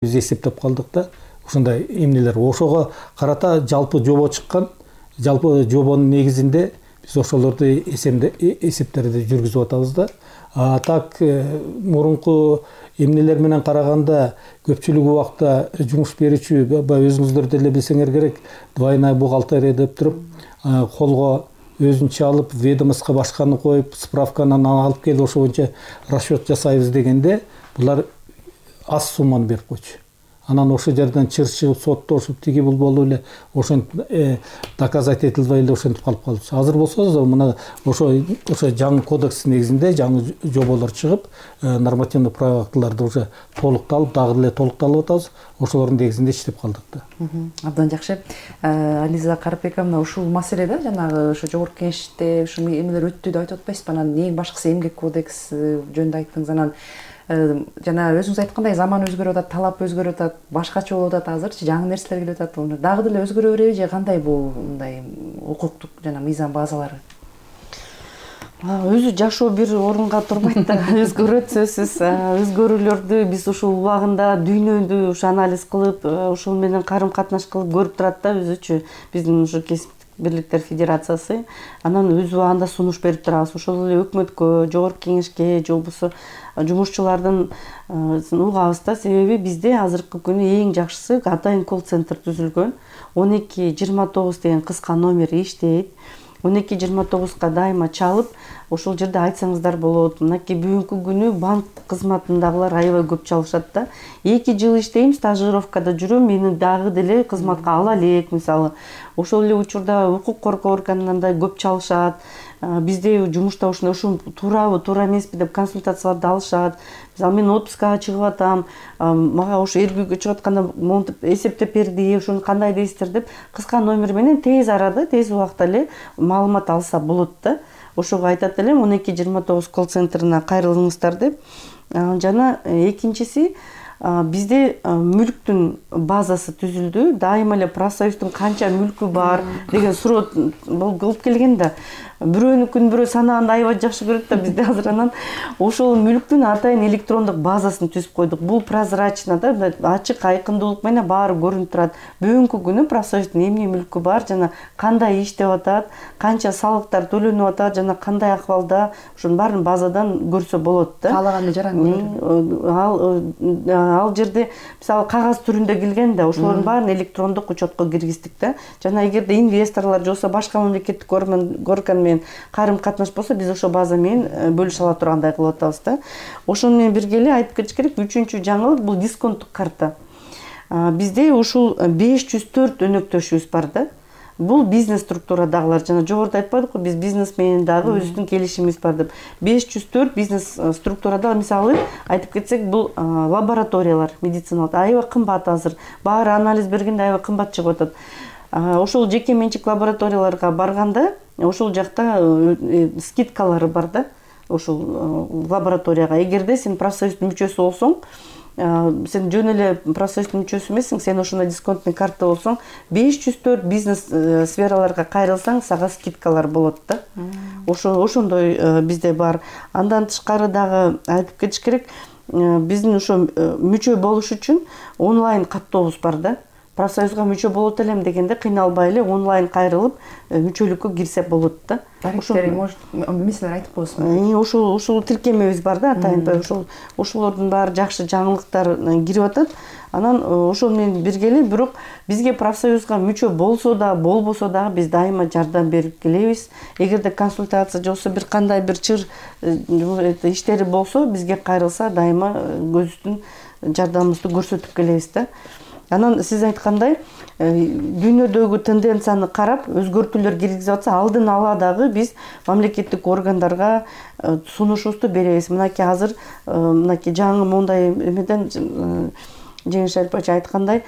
биз эсептеп калдык да. Ушундай эмнелер ошого карата жалпы жобо чыккан. Жалпы жобонун негизинде биз ошолорду эсептерди жүргүзүп атабыз да. Так мурунку эмнелер менен караганда көпчүлүк убакта жумуш берүүчү өзүңүздөр деле билсеңер керек, двойная бухгалтерия деп туруп, колго өзүнчө алып, ведомостко башканы коюп, справканы алып келип ошо боюнча расчет жасайбыз дегенде, булар аз сумманы берип койчу. Анан ошол жерден чыр-чыгып, соттошуп, тиги бул болуп эле ошентип доказать этилбей эле ошентип калып калды. Азыр болсо мына ошо жаңы кодекс негизинде жаңы жоболор чыгып, нормативный правовой актыларды уже толукталып, дагы эле толукталып атабыз. Ошолордун негизинде иштеп калдык да. Абдан жакшы. Ализа Карапбековна, ушул маселеде жанагы ошо жогорку кеңеште ушул эмелер өттү деп айтып атпайсызбы? Анан эң башкысы эмгек кодекси жөнүндө айттыңыз. Анан жана өзүңүз айткандай заман өзгөрүп атат, талап өзгөрүп атат, башкача болуп атат азырчы, жаңы нерселер келип атат. Дагы деле өзгөрө береби же кандай бул мындай укуктук жана мыйзам базалары? Өзү жашоо бир орунга турбайт да, өзгөрөт сөзсүз. Өзгөрүүлөрдү биз ушул убагында дүйнөдү ушу анализ кылып, ошол менен карым катнаш кылып көрүп турат да өзүчү биздин ушу кесиптик бирликтер федерациясы. Анан өз убагында сунуш берип турабыз. Ошол эле өкмөткө, жогорку кеңешке, же болбосо жумушчулардын угабыз да. Себеби бизде азыркы күнү эң жакшысы атайын колл-центр түзүлгөн. 1229 деген кыска номер иштейт. 1229 дайыма чалып, ошол жерде айтсаңыздар болот. Мынакей бүгүнкү күнү банк кызматындагылар аябай көп чалышат да. 2 жыл иштейм, стажировкада жүрөм, мени дагы деле кызматка ала элек, мисалы. Ошол эле учурда укук коргоо органынан да көп чалышат. Бизде жумушта ушул туурабы, туура эмеспи деп консультацияларды алышат. Мисалы мен отпускага чыгып атам, мага ошо эргүүгө чыгып атканда монтип эсептеп берди, ошону кандай дейсиздер деп кыска номер менен тез арада, тез убакта эле маалымат алса болот да. Ошого айтат элем 1229 колл-центрина кайрылыңыздар деп. Жана экинчиси, бизде мүлктүн базасы түзүлдү. Дайыма эле профсоюздун канча мүлкү бар деген суроо болуп келген да. Бирөөнүкүн бирөө санаганда аябай жакшы көрөт да, бизде азыр анан ошол мүлктүн атайын электрондук базасын түзүп койдук. Бул прозрачно да, ачык айкындуулук менен баары көрүнүп турат. Бүгүнкү күнү профсоюздун эмне мүлкү бар, жана кандай иштеп атат, канча салыктар төлөнүп атат, жана кандай акыбалда, ошонун баарын базадан көрсө болот да. Каалаган жаран ал жерде мисалы кагаз түрүндө келген да, ошолордун баарын электрондук учетко киргиздик да. Жана эгерде инвесторлор же болбосо башка мамлекеттик орган менен карым катнаш болсо, биз ошол база менен бөлүшө ала тургандай кылып атабыз да. Ошону менен бирге эле айтып кетиш керек, үчүнчү жаңылык бул дисконттук карта. Бизде ушул 504 өнөктөшүбүз бар да. Бул бизнес структурадагылар, жана жогоруда айтпадыкпы, биз бизнес менен дагы өзүбүздүн келишимибиз бар деп. 504 бизнес структурада, мисалы айтып кетсек, бул лабораториялар медициналык аябай кымбат азыр. Баары анализ бергенде аябай кымбат чыгып атат. Ошол жеке менчик лабораторияларга барганда, ошол жакта скидкалары бар да. Ошол лабораторияга эгерде сен профсоюздун мүчөсү болсоң, сен жөн эле профсоюздун мүчөсү эмессиң, сен ошондой дисконтный карта болсоң, 504 бизнес сфераларга кайрылсаң, сага скидкалар болот да. Ошондой бизде бар. Андан тышкары дагы айтып кетиш керек, биздин ошо мүчө болуш үчүн онлайн каттобуз бар да. Профсоюзга мүчө болот элем дегенде кыйналбай эле онлайн кайрылып мүчөлүккө кирсе болот да. Тарифтери может эмнелер айтып коесузбу? Ошол тиркемебиз бар да, атайын ошолордун баары жакшы жаңылыктар кирип атат. Анан ошол менен бирге эле, бирок бизге профсоюзга мүчө болсо да, болбосо дагы биз дайыма жардам берип келебиз. Эгерде консультация же болбосо бир кандай бир чыр иштери болсо, бизге кайрылса дайыма өзүбүздүн жардамыбызды көрсөтүп келебиз да. Анан сиз айткандай, дүйнөдөгү тенденцияны карап, өзгөртүүлөр киргизип атса, алдын ала дагы биз мамлекеттик органдарга сунушубузду беребиз. Мынакей азыр мынакей жаңы мондай эмеден Жеңиш Шарипович айткандай,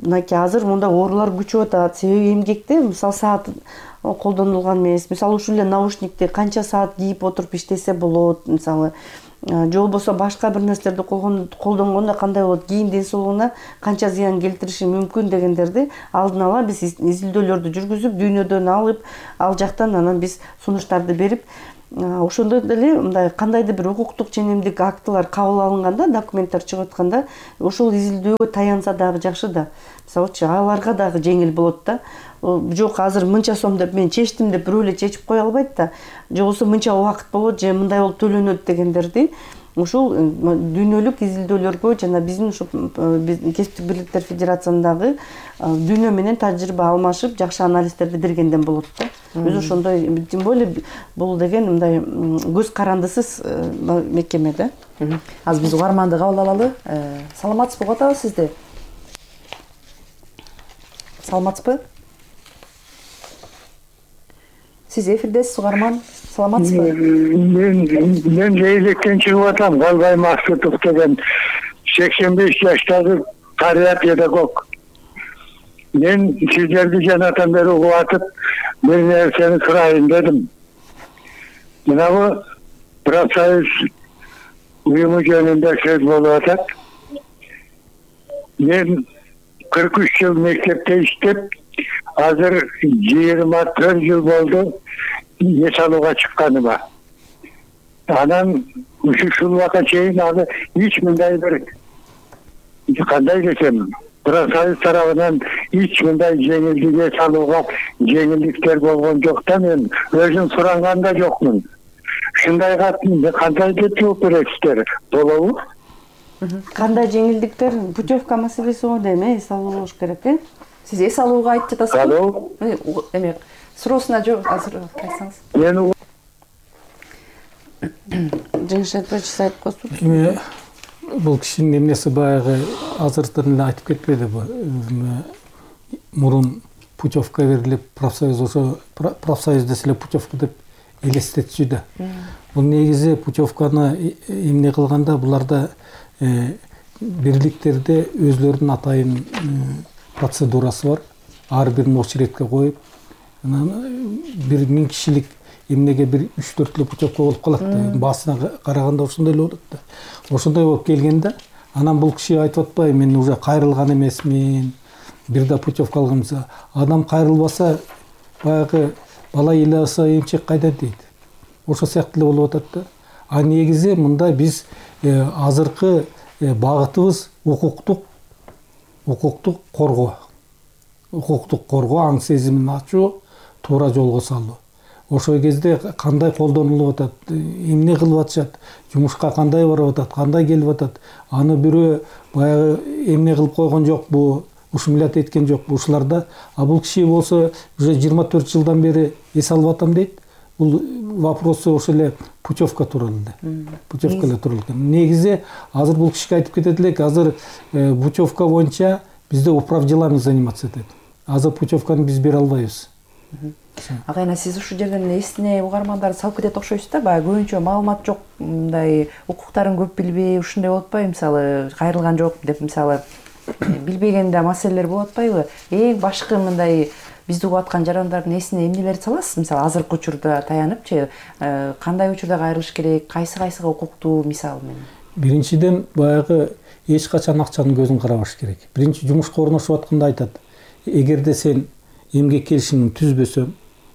мынакей азыр монда оорулар күчөп атат. Себеби эмгекте мисалы саат колдонулган эмес. Мисалы ушул эле наушникти канча саат кийип отуруп иштесе болот, мисалы же болбосо башка бир нерселерди колдонгондо кандай болот, кийин ден соолугуна канча зыян келтириши мүмкүн дегендерди алдын ала биз изилдөөлөрдү жүргүзүп, дүйнөдөн алып, ал жактан анан биз сунуштарды берип, ошондой деле мындай кандайдыр бир укуктук ченемдик актылар кабыл алынганда, документтер чыгып атканда ошол изилдөөгө таянса дагы жакшы да. Мисалычы аларга дагы жеңил болот да. Жок, азыр мынча сом деп мен чечтим деп бирөө эле чечип кое албайт да. Же болбосо мынча убакыт болот, же мындай болуп төлөнөт дегендерди ушул дүйнөлүк изилдөөлөргө жана биздин ушу кесиптик бирликтер федерациясындагы дүйнө менен тажрыйба алмашып, жакшы анализдерди бергенден болот да. Өзү ошондой, тем более бул деген мындай көз карандысыз мекеме да. Азыр биз угарманды кабыл алалы. Саламатсызбы, угуп атабыз сизди? Саламатсызбы? Сиз эфирдесиз, угарман. Саламатсызбы? Мен жээлектен чыгып атам. Галбай Максутов деген 85 жаштагы карыя педагог. Мен сиздерди жанатан бери угуп атып, бир нерсени сурайын дедим. Мынабу профсоюз уюму жөнүндө сөз болуп атат. Мен 43 жыл мектепте иштеп, азыр 24 жыл болду эс алууга чыкканыма. Анан ушул убакка чейин аны эч мындай бир кандай десем, профсоюз тарабынан эч мындай жеңилдик эс алууга жеңилдиктер болгон жок да. Мен өзүм суранган да жокмун. Ушундайга кандай деп жооп бересиздер? Болобу? Кандай жеңилдиктер? Путевка маселеси го дейм, эс алуу болуш керек, э? Сиз эс алууга айтып жатасызбы? Алло. Эме суроосуна жооп азыр айтсаңыз. Мен Жеңиш айтпачы айтып койсу. Эми бул кишинин эмнеси баягы азыртын эле айтып кетпеди бу. Мурун путевка берилип, профсоюз ошо профсоюз десе эле путевка деп элестетчү да. Бул негизи путевканы эмне кылганда буларда бирликтерде өзлөрүнүн атайын процедурасы бар. Ар бирин очередке коюп, анан 1000 кишилик эмнеге бир 3-4 эле путевка болуп калат да. Баасына караганда ошондой эле болот да. Ошондой болуп келгенде, анан бул киши айтып атпайбы, мен уже кайрылган эмесмин, бир да путевка алганымса, адам кайрылбаса, баягы бала ыйласа эмчек кайда дейт. Ошо сыяктуу эле болуп атат да. А негизи мында биз азыркы багытыбыз укуктук коргоо. Укуктук коргоо, аң сезимин ачуу, туура жолго салуу. Ошол кезде кандай колдонулуп атат, эмне кылып атышат, жумушка кандай барып атат, кандай келип атат, аны бирөө баягы эмне кылып койгон жокпу, ушумилат эткен жокпу ушуларда. А бул киши болсо уже 24 жылдан бери эс алып атам дейт. Бул вопросы ошол эле путевка тууралуу эле. Путевка эле тууралуу экен. Негизи азыр бул кишиге айтып кетет элек, азыр путевка боюнча бизде управ делами заниматься этет. Азыр путевканы биз бере албайбыз. Агайна, сиз ушул жерден эсине угармандарды салып кетет окшойсуз да, баягы көбүнчө маалымат жок, мындай укуктарын көп билбей, ушундай болуп атпайбы? Мисалы, кайрылган жок деп мисалы билбегенде маселелер болуп атпайбы? Эң башкы мындай бизди угуп аткан жарандардын эсине эмнелерди саласыз? Мисалы, азыркы учурда таяныпчы, кандай учурда кайрылыш керек, кайсыга укуктуу мисал менен? Биринчиден, баягы эч качан акчанын көзүн карабаш керек. Биринчи жумушка орношуп атканда айтат, эгерде сен эмгек келишимин түзбөсөң,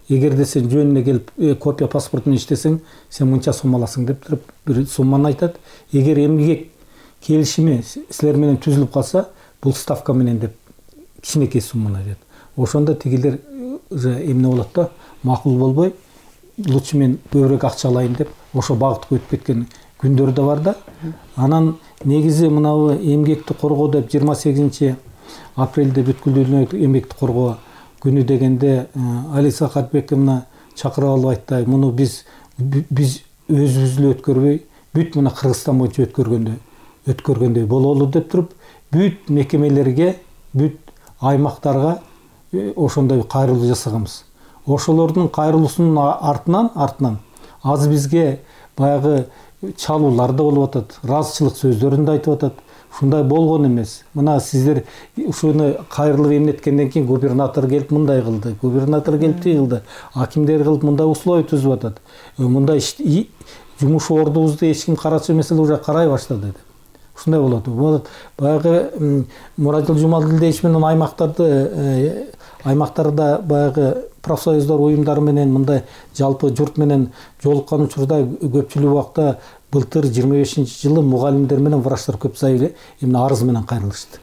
эгерде сен жөнүнө келип копия паспортун иштесең, сен мынча сом аласың деп туруп бир сумманы айтат. Эгер эмгек келишими силер менен түзүлүп калса, бул ставка менен деп кичинекей сумманы айтат. Ошондо тигилер уже эмне болот да, макул болбой, лучше мен көбүрөөк акча алайын деп ошо багытка өтүп кеткен күндөр да бар да. Анан негизи мынабу эмгекти коргоо деп 28 апрелде бүткүл дүйнөлүк эмгекти коргоо күнү дегенде Алиса Катбековна чакырып алып айтты, муну биз өзүбүз эле өткөрбөй, бүт мына Кыргызстан боюнча өткөргөндөй бололу деп туруп, бүт мекемелерге, бүт аймактарга ошондой кайрылуу жасаганбыз. Ошолордун кайрылуусунун артынан азыр бизге баягы чалуулар да болуп атат, ыраазычылык сөздөрүн да айтып атат. Ушундай болгон эмес. Мына сиздер ушуну кайрылып эмнеткенден кийин губернатор келип мындай кылды, губернатор келип тиги кылды, акимдер кылып мындай условия түзүп атат. Мындай жумуш ордубузду эч ким карачу эмес эле уже карай баштады деп. Ушундай болот. Баягы Муратжул Жумалдилдиевич менен аймактарда баягы профсоюздар уюмдары менен мындай жалпы журт менен жолуккан учурда көпчүлүк убакта былтыр 25-жылы мугалимдер менен врачтар көп эмне арыз менен кайрылышты.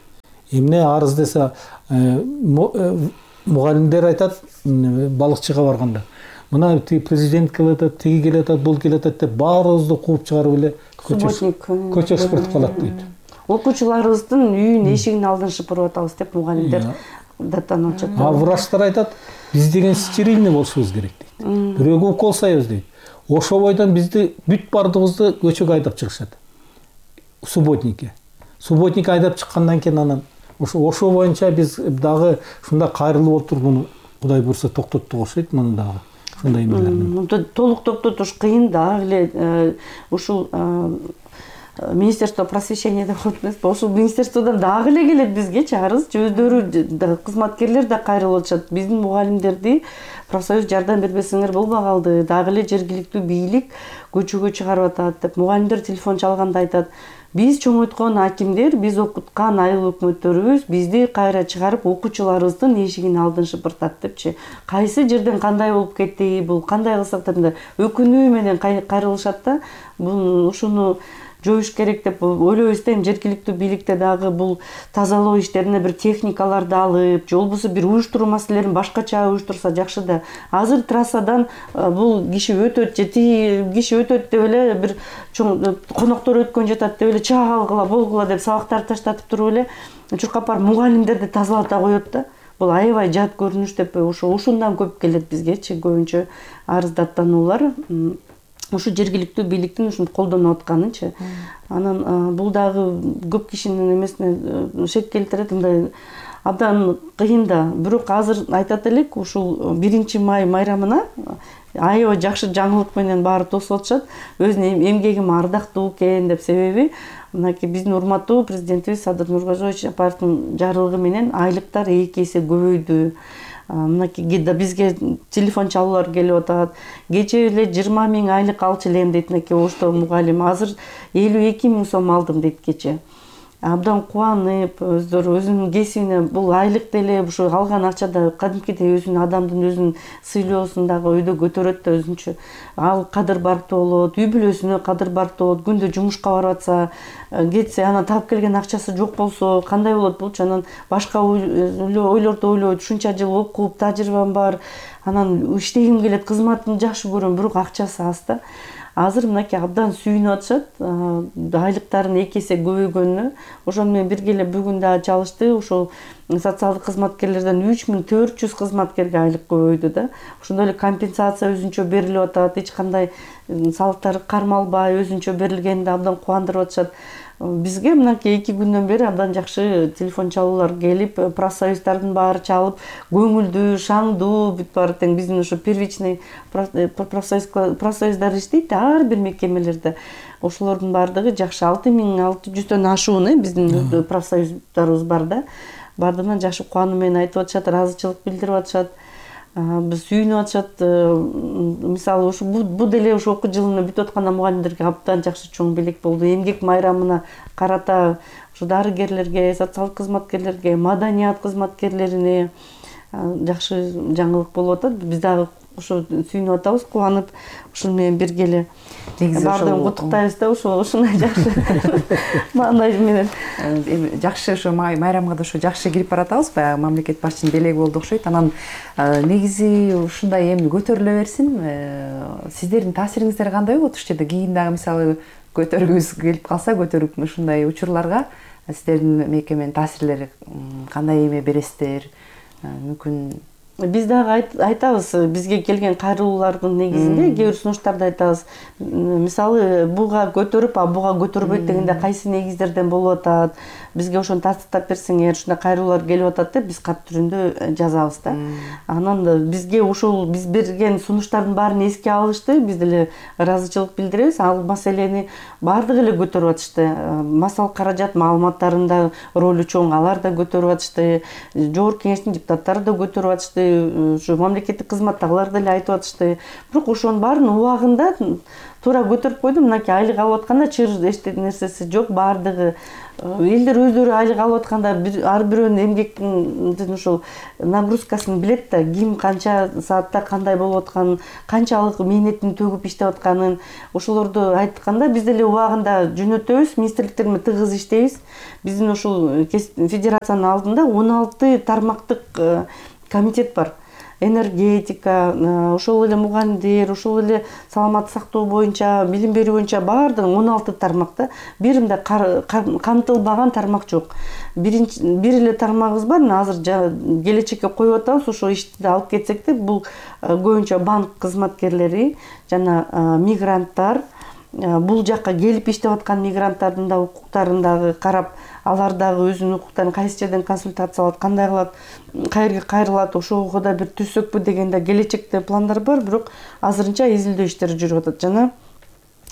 Эмне арыз десе мугалимдер айтат балыкчыга барганда мына президент келатат, тиги келатат, бул келатат деп баарыбызды кууп чыгарып эле көчө шыпыртып калат дейт. Окуучуларыбыздын үйүн эшигин алдын шыпырып атабыз деп мугалимдер даттанып атышат. Врачтар айтат, биз деген стерильный болушубуз керек дейт. Бирөөгө укол сайбыз дейт. Ошо бойдон бизди бүт бардыгыбызды көчөгө айдап чыгышат. Субботникке айдап чыккандан кийин анан ошо боюнча биз дагы ушундай кайрылып отургуну Кудай буйрса токтоттук окшойт муну дагы. Ушундай эмелер. Толук токтотуш кыйын дагы эле ушул Министерство просвещения деп коет эмеспи? Ошол министерстводон дагы эле келет бизгечи арыз. Өздөрү кызматкерлер да кайрылып атышат. Биздин мугалимдерди профсоюз жардам бербесеңер болбой калды. Дагы эле жергиликтүү бийлик көчөгө чыгарып атат деп мугалимдер телефон чалганда айтат. Биз чоңойткон акимдер, биз окуткан айыл өкмөттөрүбүз бизди кайра чыгарып окуучуларыбыздын эшигин алдын шыпыртат депчи. Кайсы жерден кандай болуп кетти, бул кандай кылсак деп өкүнүү менен кайрылышат да. Бул ушуну жоюш керек деп ойлойбуз да. Жергиликтүү бийликте дагы бул тазалоо иштерине бир техникаларды алып, же болбосо бир уюштуруу маселелерин башкача уюштурса жакшы да. Азыр трассадан бул киши өтөт же тиги киши өтөт деп эле бир чоң коноктор өткөн жатат деп эле чаагыла болгула деп сабактарды таштатып туруп эле чуркапар мугалимдерди тазалата коет да. Бул аябай жат көрүнүш деп ушундан көп келет бизгечи көбүнчө арыздаттануулар. Ушу жергиликтүү бийликтин ушуну колдонуп атканычы. Анан бул дагы көп кишинин эмесине шек келтирет, мындай абдан кыйын да. Бирок азыр айтат элек, ушул 1-май майрамына аябай жакшы жаңылык менен баары тосуп атышат. Өзүнүн эмгегим ардактуу экен деп, себеби мынакей биздин урматтуу президентибиз Садыр Нуркожоевич Апаровдун жарлыгы менен айлыктар 2 эсе көбөйдү. Мынакей бизге телефон чалуулар келип атат. Кечээ эле 20 000 айлык алчу элем дейт мынакей Ошто мугалим. Азыр 52 000 сом алдым дейт кечээ. Абдан кубанып, өздөрү өзүнүн кесибине бул айлык деле ушу алган акчада кадимкидей өзүнүн адамдын өзүнүн сыйлоосун дагы өйдө көтөрөт да өзүнчө. Ал кадыр барктуу болот, үй бүлөсүнө кадыр барктуу болот. Күндө жумушка барып атса, кетсе, анан таап келген акчасы жок болсо кандай болот болчу? Анан башка ойлорду ойлойт. Ушунча жыл окуп, тажрыйбам бар. Анан иштегим келет, кызматымды жакшы көрөм, бирок акчасы аз да. Азыр мынакей абдан сүйүнүп атышат. Айлыктарын 2 эсе көбөйгөнүнө. Ошону менен бирге эле бүгүн да чалышты. Ошол социалдык кызматкерлерден 3400 кызматкерге айлык көбөйдү да. Ошондой эле компенсация өзүнчө берилип атат. Эч кандай салыктар кармалбай өзүнчө берилгенди абдан кубандырып атышат. Бизге мынакей 2 күндөн бери абдан жакшы телефон чалуулар келип, профсоюздардын баары чалып, көңүлдүү, шаңдуу, бүт баары тең биздин ошо первичный профсоюздар иштейт ар бир мекемелерде. Ошолордун баардыгы жакшы 6600дөн ашуун биздин профсоюздарыбыз бар да. Бардыгынан жакшы кубануу менен айтып атышат, ыраазычылык билдирип атышат. Биз сүйүнүп атышат. Мисалы ушу бу деле ушу окуу жылыны бүтүп атканда мугалимдерге абдан жакшы чоң белек болду. Эмгек майрамына карата ушу дарыгерлерге, социалдык кызматкерлерге, маданият кызматкерлерине жакшы жаңылык болуп атат. Биз дагы ушу сүйүнүп атабыз, кубанып, ушуну менен бирге эле баардыгын куттуктайбыз да, ушундай жакшы маанай менен. Жакшы ошо майрамга да ошо жакшы кирип баратабыз. Баягы мамлекет башчынын белеги болду окшойт. Анан негизи ушундай эми көтөрүлө берсин. Сиздердин таасириңиздер кандай болот ушул жерде? Кийин дагы мисалы көтөргүбүз келип калса, көтөрүп ушундай учурларга сиздердин мекеменин таасирлери кандай эме бересиздер? Мүмкүн биз дагы айтабыз, бизге келген кайрылуулардын негизинде кээ бир сунуштарды айтабыз. Мисалы, буга көтөрүп, буга көтөрбөйт дегенде кайсы негиздерден болуп атат? Бизге ошону тастыктап берсеңер, ушундай кайрылуулар келип атат деп биз кат түрүндө жазабыз да. Анан бизге ушул биз берген сунуштардын баарын эске алышты. Биз деле ыраазычылык билдиребиз. Ал маселени баардыгы эле көтөрүп атышты. Масал каражат маалыматтарында ролу чоң, алар да көтөрүп атышты. Жогорку кеңештин депутаттары да көтөрүп атышты. Ушу мамлекеттик кызматтагылар деле айтып атышты. Бирок ошонун баарынын убагында туура көтөрүп койдум, мынакей айлык алып атканда чыр эчтек нерсеси жок, баардыгы элдер өздөрү айлык алып атканда ар бирөөнүн эмгектин ушул нагрузкасын билет да, ким канча саатта кандай болуп атканын, канчалык мээнетин төгүп иштеп атканын, ошолорду айтканда биз деле убагында жөнөтөбүз, министрликтер менен тыгыз иштейбиз. Биздин ушул федерациянын алдында 16 тармактык комитет бар. Энергетика, ошол эле мугалимдер, ошол эле саламаттык сактоо боюнча, билим берүү боюнча баардыгы 16 тармакта. Бир мындай камтылбаган тармак жок. Бир эле тармагыбыз бар, азыр келечекке коюп атабыз, ошо ишти алып кетсек де, бул көбүнчө банк кызматкерлери жана мигранттар, бул жакка келип иштеп аткан мигранттардын да укуктарын дагы карап, алар дагы өзүнүн укуктарын кайсы жерден консультация алат, кандай кылат, каерге кайрылат, ошого да бир түзсөкпү деген да келечекте пландар бар, бирок азырынча изилдөө иштери жүрүп атат.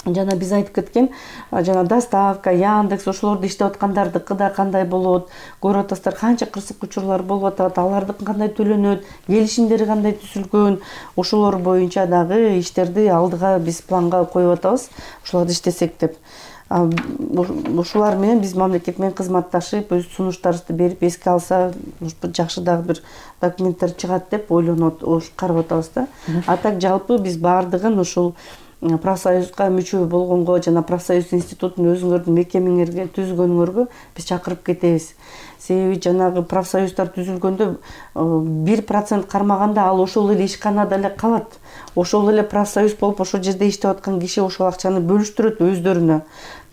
Жана биз айтып кеткен, жана доставка, Яндекс, ошолорду иштеп аткандардыкы да кандай болот, көрүп атасыздар, канча кырсык учурлар болуп атат, алардыкы кандай төлөнөт, келишимдери кандай түзүлгөн, ошолор боюнча дагы иштерди алдыга биз планга коюп атабыз, ошолорду иштесек деп. Ушулар менен биз мамлекет менен кызматташып, өз сунуштарыбызды берип, эске алса, жакшы дагы бир документтер чыгат деп ойлонуп, карап атабыз да. А так жалпы биз баардыгын ушул профсоюзга мүчө болгонго жана профсоюз институтун өзүңөрдүн мекемеңерге түзгөнүңөргө биз чакырып кетебиз. Себеби жанагы профсоюздар түзүлгөндө 1% кармаганда ал ошол эле ишканада эле калат. Ошол эле профсоюз болуп ошол жерде иштеп аткан киши ошол акчаны бөлүштүрөт өздөрүнө.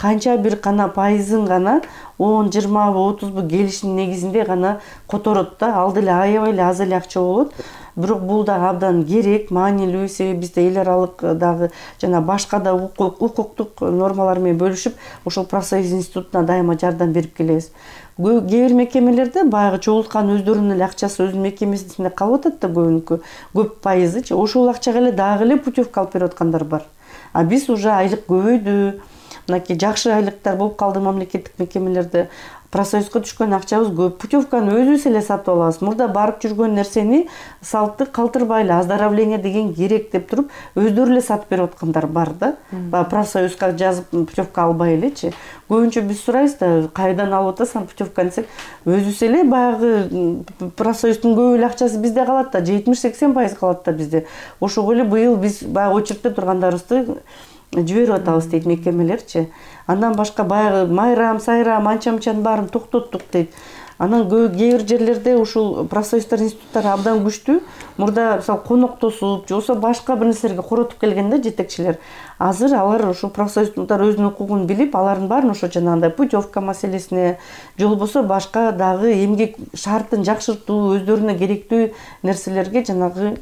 Канча бир гана пайызын гана 10, 20, 30 келишим негизинде гана которот да, ал деле аябай эле аз эле акча болот. Бирок бул да абдан керек, маанилүү, себеби бизде эл аралык дагы жана башка да укуктук нормалар менен бөлүшүп, ошол профсоюз институтуна дайыма жардам берип келебиз. Кээ бир мекемелерде баягы чогулткан өздөрүнүн эле акчасы өзүнүн мекемесинде калып атат да, көбүнкү, көп пайызычы. Ошол акчага эле дагы эле путевка алып берип аткандар бар. А биз уже айлык көбөйдү, мынакей жакшы айлыктар болуп калды мамлекеттик мекемелерде. Профсоюзга түшкөн акчабыз көп. Путевканы өзүбүз эле сатып алабыз. Мурда барып жүргөн нерсени салтты калтырбай эле оздоровление деген керек деп туруп, өздөрү эле сатып берип аткандар бар да. Профсоюзга жазып путевка албай элечи. Көбүнчө биз сурайбыз да, кайдан алып атасың путевканы десек, өзүбүз эле баягы профсоюздун көп эле акчасы бизде калат да, 70-80% калат да бизде. Ошого эле быйыл биз баягы очередте тургандарыбызды жиберип атабыз дейт мекемелерчи. Андан башка баягы майрам, сайрам, анча-мынчанын баарын токтоттук дейт. Анан кээ бир жерлерде ушул профсоюздар институттары абдан күчтүү. Мурда мисалы коноктосуп, же болбосо башка бир нерселерге коротуп келгенде жетекчилер. Азыр алар ушул профсоюздар өзүнүн укугун билип, алардын баарын ошо жанагындай путевка маселесине, же болбосо башка дагы эмгек шартын жакшыртуу, өздөрүнө керектүү нерселерге жанагы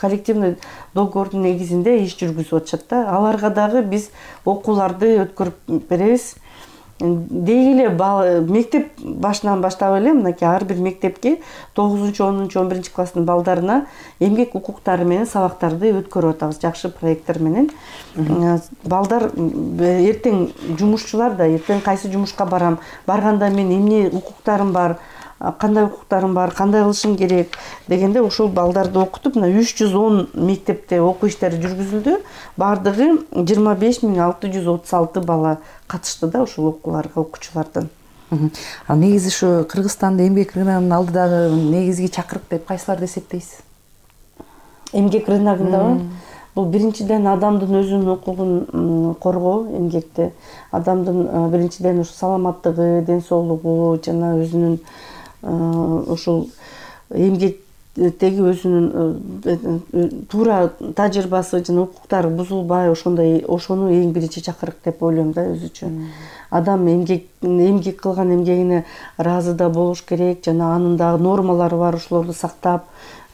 коллективный договордун негизинде иш жүргүзүп атышат да. Аларга дагы биз окууларды өткөрүп беребиз. Деги эле мектеп башынан баштап эле мынакей ар бир мектепке 9-10, 11 класстын балдарына эмгек укуктары менен сабактарды өткөрүп атабыз жакшы проекттер менен. Балдар эртең жумушчулар да, эртең кайсы жумушка барам, барганда мен эмне укуктарым бар, кандай укуктарым бар, кандай кылышым керек дегенде ошол балдарды окутуп, мына 310 мектепте окуу иштери жүргүзүлдү. Бардыгы 25.636 бала катышты да ошол окууларга, окуучулардан. Ал негизи ушу Кыргызстанда эмгек рыногунун алдыдагы негизги чакырык деп кайсыларды эсептейсиз? Эмгек рыногундабы? Бул биринчиден адамдын өзүнүн укугун коргоо эмгекте. Адамдын биринчиден ушу саламаттыгы, ден соолугу жана өзүнүн ушул эмгектеги өзүнүн туура тажрыйбасы жана укуктары бузулбай ошону эң биринчи чакырык деп ойлойм да өзүчө. Адам эмгек кылган эмгегине ыраазы да болуш керек, жана анын дагы нормалары бар, ошолорду сактап,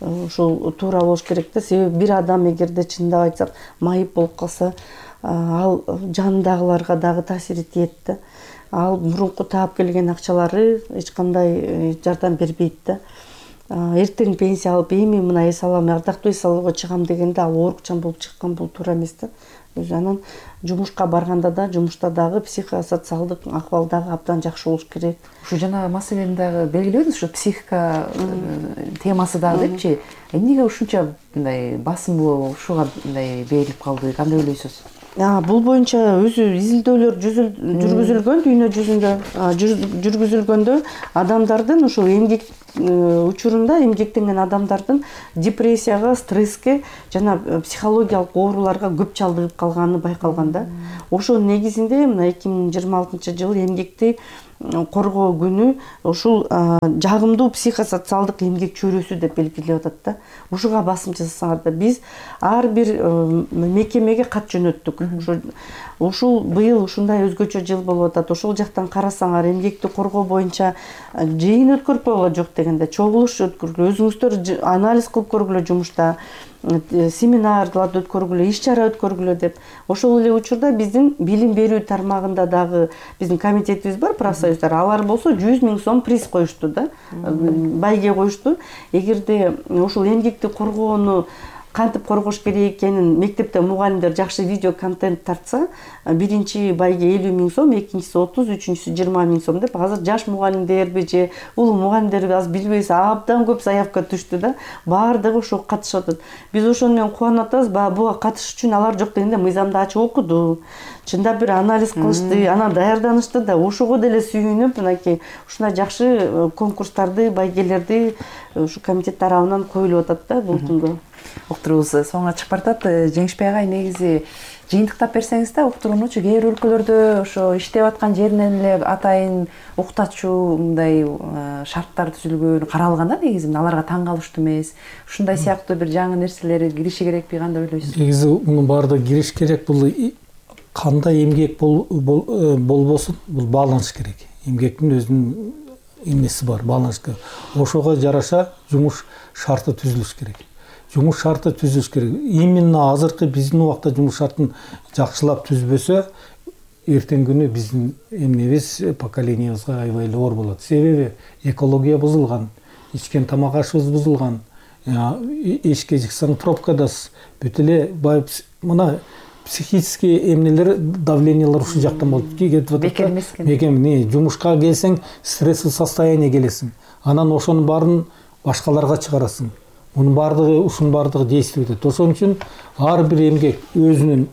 ушул туура болуш керек да. Себеби бир адам эгерде чындап айтсак майып болуп калса, ал жанындагыларга дагы таасири тиет да. Ал мурунку таап келген акчалары эч кандай жардам бербейт да. Эртең пенсия алып, эми мына эс алам, ардактуу эс алууга чыгам дегенде ал оорукчан болуп чыккан, бул туура эмес да. Өзү анан жумушка барганда да, жумушта дагы психосоциалдык акыбал дагы абдан жакшы болуш керек. Ушу жана маселени дагы белгилебиз, ушу психика темасы дагы депчи. Эмнеге ушунча мындай басым ушуга мындай берилип калды, кандай ойлойсуз? Бул боюнча өзү изилдөөлөр жүргүзүлгөн, дүйнө жүзүндө жүргүзүлгөндө адамдардын ушул эмгек учурунда эмгектенген адамдардын депрессияга, стресске жана психологиялык ооруларга көп чалдыгып калганы байкалган да. Ошонун негизинде мына 2026-жылы эмгекти коргоо күнү ушул жагымдуу психосоциалдык эмгек чөйрөсү деп белгилеп атат да. Ушуга басым жасасаңар да биз ар бир мекемеге кат жөнөттүк. Ушул быйыл ушундай өзгөчө жыл болуп атат. Ошол жактан карасаңар эмгекти коргоо боюнча жыйын өткөрүп койгула жок дегенде чогулуш өткөргүлө, өзүңүздөр анализ кылып көргүлө жумушта, семинарларды өткөргүлө, иш чара өткөргүлө деп. Ошол эле учурда биздин билим берүү тармагында дагы биздин комитетибиз бар, профсоюздар. Алар болсо 100 000 сом приз коюшту да, байге коюшту. Эгерде ушул эмгекти коргоону кантип коргош керек экенин мектепте мугалимдер жакшы видео контент тартса, биринчи байге 50 000 сом, экинчиси 30, үчүнчүсү 20 000 сом деп азыр жаш мугалимдерби же улуу мугалимдерби аз билбейбиз, абдан көп заявка түштү да. Баардыгы ошого катышып атат. Биз ошону менен кубанып атабыз. Буга катышыш үчүн алар жок дегенде мыйзамды ачып окуду. Чындап бир анализ кылышты, анан даярданышты да. Ошого деле сүйүнүп, мынакей ушундай жакшы конкурстарды, байгелерди ушу комитет тарабынан коюлуп атат да бул күнгө. Уктуруубуз соңуна чыгып баратат. Жеңишбек агай, негизи жыйынтыктап берсеңиз да, уктуруунучу кээ бир өлкөлөрдө ошо иштеп аткан жеринен эле атайын уктатчу мындай шарттар түзүлгөн, каралган да негизи. Аларга таң калыштуу эмес. Ушундай сыяктуу бир жаңы нерселер кириши керекпи, кандай ойлойсуз? Негизи мунун баардыгы кириш керек. Бул кандай эмгек болбосун, бул бааланыш керек. Эмгектин өзүнүн эмеси бар, бааланыш керек. Ошого жараша жумуш шарты түзүлүш керек. Жумуш шарты түзүлүш керек. Именно азыркы биздин убакта жумуш шартын жакшылап түзбөсө, эртеңки күнү биздин эмнебиз, поколениябызга аябай эле оор болот. Себеби экология бузулган, ичкен тамак ашыбыз бузулган. Эшикке чыксаң пробкадасыз. Бүт эле мына психический эмнелер, давлениялар ушул жактан болуп кетип атат. Бекем, жумушка келсең стрессовый состояние келесиң. Анан ошонун баарын башкаларга чыгарасың. Мунун баардыгы, ушунун баардыгы действие этет. Ошон үчүн ар бир эмгек өзүн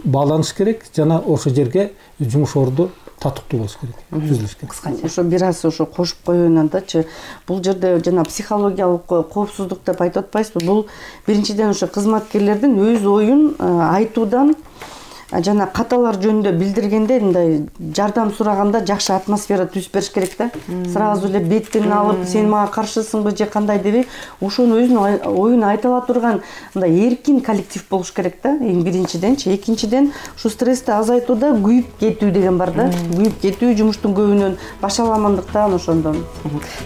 бааланыш керек жана ошол жерге жумуш орду татыктуу болуш керек, түзүлүш керек. Кыскача. Ошо бир аз ошо кошуп коеюн андачы. Бул жерде жана психологиялык коопсуздук деп айтып атпайсызбы? Бул биринчиден ошо кызматкерлердин өз оюн айтуудан жана каталар жөнүндө билдиргенде мындай жардам сураганда жакшы атмосфера түзүп бериш керек да. Сразу эле беттин алып, сен мага каршысыңбы же кандай дебей, ошону өзүнүн оюн айта ала турган мындай эркин коллектив болуш керек да. Эң биринчиденчи, экинчиден ушу стрессти азайтууда күйүп кетүү деген бар да. Күйүп кетүү жумуштун көбүнөн, башаламандыктан ошондон.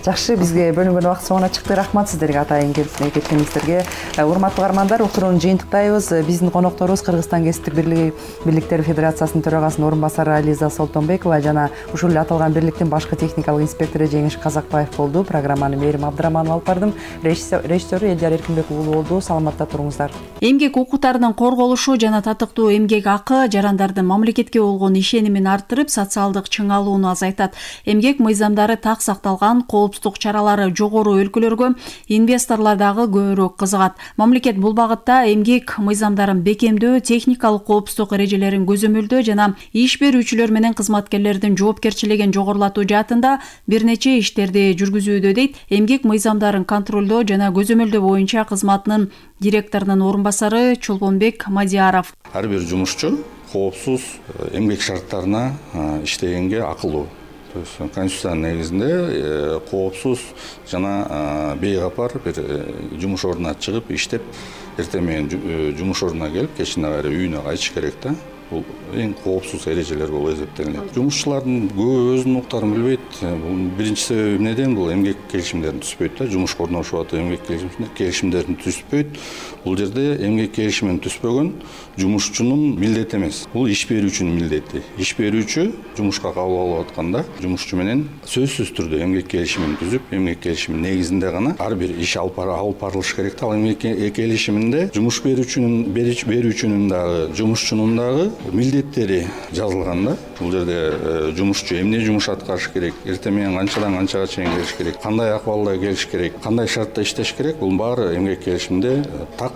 Жакшы, бизге бөлүнгөн убакыт соңуна чыкты. Рахмат сиздерге атайын кеткениңиздерге. Урматтуу угармандар, уктурууну жыйынтыктайбыз. Биздин конокторубуз Кыргызстан кесиптик бирликтер федерациясынын төрагасынын орун басары Ализа Солтонбекова жана ушул эле аталган бирликтин башкы техникалык инспектору Жеңиш Казакбаев болду. Программаны Мээрим Абдыраманова алып бардым. Режиссеру Элдияр Эркинбек уулу болду. Саламатта туруңуздар. Эмгек укуктарынын корголушу жана татыктуу эмгек акы жарандардын мамлекетке болгон ишенимин арттырып, социалдык чыңалууну азайтат. Эмгек мыйзамдары так сакталган, коопсуздук чаралары жогору өлкөлөргө инвесторлор дагы көбүрөөк кызыгат. Мамлекет бул багытта эмгек мыйзамдарын бекемдөө, техникалык коопсуздук эрежелерин көзөмөлдөө жана иш берүүчүлөр менен кызматкерлердин жоопкерчилигин жогорулатуу жаатында бир нече иштерди жүргүзүүдө, дейт эмгек мыйзамдарын контролдоо жана көзөмөлдөө боюнча кызматынын директорунун орун басары Чолбонбек Мадияров. Ар бир жумушчу коопсуз эмгек шарттарына иштегенге акылуу. Конституциянын негизинде коопсуз жана бейкапар бир жумуш ордуна чыгып иштеп, эртең менен жумуш ордуна келип, кечинде кайра үйүнө кайтыш керек да. Бул эң коопсуз эрежелер болуп эсептелинет. Жумушчулардын көбү өзүнүн укуктарын билбейт. Бул биринчи себеби эмнеден? Бул эмгек келишимдерин түзбөйт да. Жумушка орношуп атып эмгек келишимдерин түзбөйт. Бул жерде эмгек келишимин түзбөгөн жумушчунун милдети эмес. Бул иш берүүчүнүн милдети. Иш берүүчү жумушка кабыл алып атканда жумушчу менен сөзсүз түрдө эмгек келишимин түзүп, эмгек келишимин негизинде гана ар бир иш алып барылыш керек да. Ал эмгек келишиминде жумуш берүүчүнүн дагы, жумушчунун дагы милдеттери жазылган да. Бул жерде жумушчу эмне жумуш аткарыш керек, эртең менен канчадан канчага чейин келиш керек, кандай акыбалда келиш керек, кандай шартта иштеш керек, бул баары эмгек келишимде так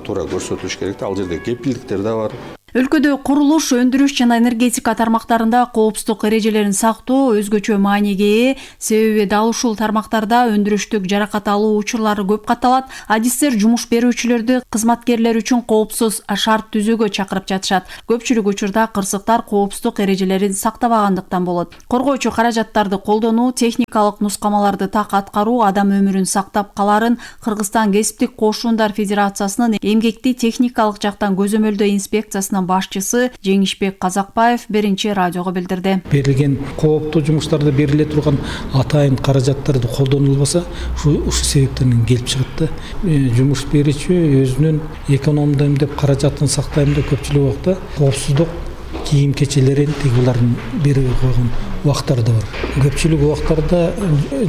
туура көрсөтүлүш керек да. Ал жерде кепилдиктер да бар. Өлкөдө курулуш, өндүрүш жана энергетика тармактарында коопсуздук эрежелерин сактоо өзгөчө мааниге ээ, себеби дал ушул тармактарда өндүрүштүк жаракат алуу учурлары көп катталат. Адистер жумуш берүүчүлөрдү кызматкерлер үчүн коопсуз шарт түзүүгө чакырып жатышат. Көпчүлүк учурда кырсыктар коопсуздук эрежелерин сактабагандыктан болот. Коргоочу каражаттарды колдонуу, техникалык нускамаларды так аткаруу адам өмүрүн сактап каларын Кыргызстан кесиптик кошундар федерациясынын эмгекти техникалык жактан көзөмөлдөө инспекциясынын башчысы Жеңишбек Казакбаев Беринчи радиого билдирди. Берилген кооптуу жумуштарда бериле турган атайын каражаттарды колдонулбаса, ушу себептерден келип чыгат да. Жумуш берүүчү өзүнүн экономдуу деп каражатын сактайм деп көпчүлүк убакта коопсуздук кийим кечелерин булардын берип койгон убактары да бар. Көпчүлүк убактарда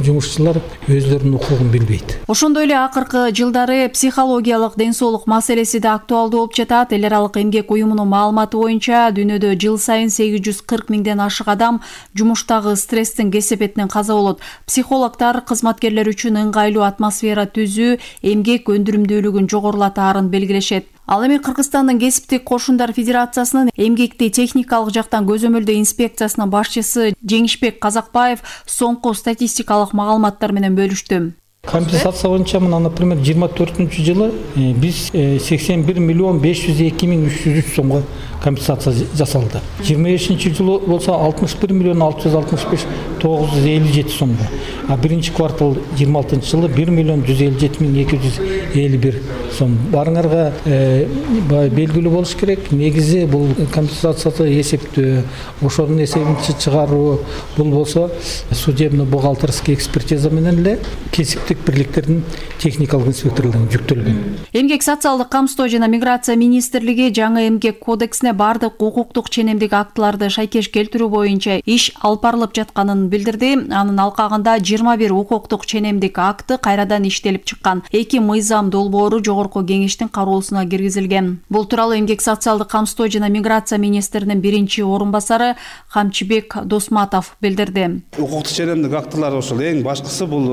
жумушчулар өзлөрүнүн укугун билбейт. Ошондой эле акыркы жылдары психологиялык ден соолук маселеси да актуалдуу болуп жатат. Эл аралык эмгек уюмунун маалыматы боюнча дүйнөдө жыл сайын 840 миңден ашык адам жумуштагы стресстин кесепетинен каза болот. Психологдор кызматкерлер үчүн ыңгайлуу атмосфера түзүү эмгек өндүрүмдүүлүгүн жогорулатаарын белгилешет. Ал эми Кыргызстандын кесиптик кошундар федерациясынын эмгекти техникалык жактан көзөмөлдөө инспекциясынын башчысы Жеңишбек Казакбаев соңку статистикалык маалыматтар менен бөлүштү. Компенсация боюнча мына, например, 24-жылы биз 81 миллион 502 миң 303 сомго компенсация жасалды. 25-жылы болсо 61 миллион 665 957 сомго. А биринчи квартал 26-жылы 1 миллион 157 миң 251 сом. Барыңарга белгилүү болуш керек. Негизи бул компенсацияны эсептөө, ошонун эсебинчи чыгаруу, бул болсо судебно-бухгалтерский экспертиза менен эле кесиптик бирликтердин техникалык инспекторлорунун жүктөлгөн. Эмгек социалдык камсыздоо жана миграция министрлиги жаңы эмгек кодексине бардык укуктук ченемдик актыларды шайкеш келтирүү боюнча иш алып барылып жатканын билдирди. Анын алкагында 21 укуктук ченемдик акты кайрадан иштелип чыккан. 2 мыйзам долбоору жогорку кеңештин кароосуна киргизилген. Бул тууралуу эмгек социалдык камсыздоо жана миграция министринин биринчи орун басары Камчыбек Досматов билдирди. Укуктук ченемдик актылар ошол эң башкысы бул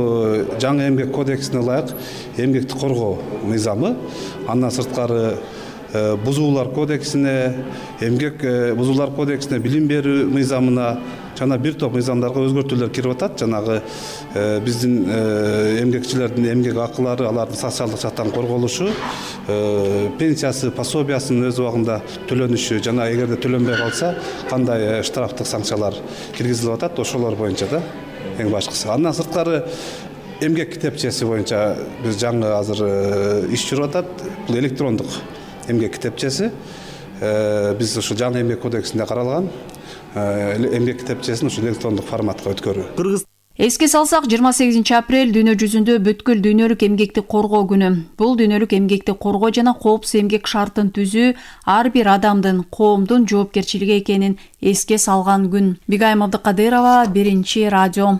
жаңы эмгек кодексине ылайык эмгекти коргоо мыйзамы. Андан сырткары бузуулар кодексине, эмгек бузуулар кодексине, билим берүү мыйзамына жана бир топ мыйзамдарга өзгөртүүлөр кирип атат. Жанагы биздин эмгекчилердин эмгек акылары, алардын социалдык жактан корголушу, пенсиясы, пособиясынын өз убагында төлөнүшү жана эгерде төлөнбөй калса кандай штрафтык санкциялар киргизилип атат, ошолор боюнча да эң башкысы. Андан сырткары эмгек китепчеси боюнча биз жаңы азыр иш жүрүп атат. Бул электрондук эмгек китепчеси. Биз ушул жаңы эмгек кодексинде каралган эмгек китепчесин ушул электрондук форматка өткөрүү. Эске салсак, 28 апрель дүйнө жүзүндө бүткүл дүйнөлүк эмгекти коргоо күнү. Бул дүйнөлүк эмгекти коргоо жана коопсуз эмгек шартын түзүү ар бир адамдын, коомдун жоопкерчилиги экенин эске салган күн. Бигайым Абдыкадырова, Биринчи радио.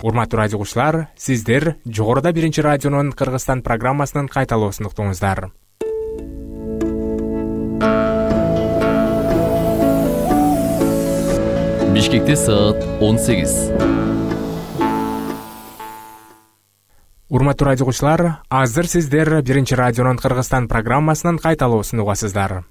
Урматтуу радио угуучулар, сиздер жогоруда Биринчи радионун Кыргызстан программасынын кайталоосун уктуңуздар. Бишкекте саат 18. Урматтуу радио угуучулар, азыр сиздер Биринчи радионун Кыргызстан программасынын кайталоосун угасыздар.